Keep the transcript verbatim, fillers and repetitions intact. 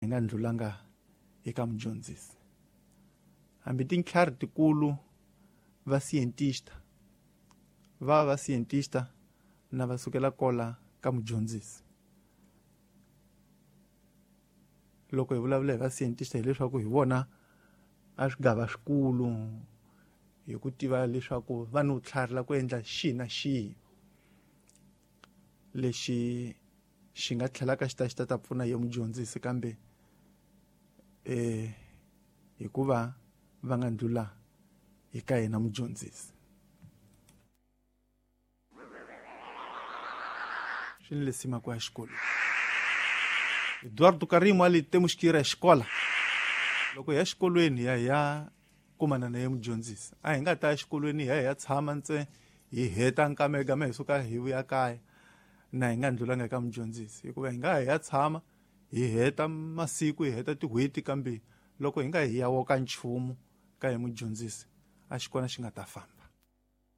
nga ndlulanga eka mudyondzisi. Hambi tintlhari tikulu va scientista va va scientista na va sukela kola ka mudyondzisi. Loko hi vulavula hi va scientista hileswaku hi vona a swigava swikulu hi ku tiva leswaku va ni vutlhari la ku endla xihi na xihi lexi xi nga tlhelaka xi ta xi ta ta pfuna ye mudyondzisi, kambe eh hikuva va nga ndlula eka yena mudyondzisi. Swi ni lesima ku ya xikolweni. Eduardo Karimo ali temos que ir à escola. Loko hi ya xikolweni ya ya kumana na ye mudyondzisi, a hi nga ta exikolweni hi ya hi ya tshama ntse hi heta nkamegame hi suka hi vuya kaya na hi nga ndlulanga eka mudyondzisi, hikuva hi nga hi ya tshama hi heta masiku hi heta tin'hweti, kambe loko hi nga hi ya woka nchumu ka hi mudyondzisi a xi kona xi nga ta famba.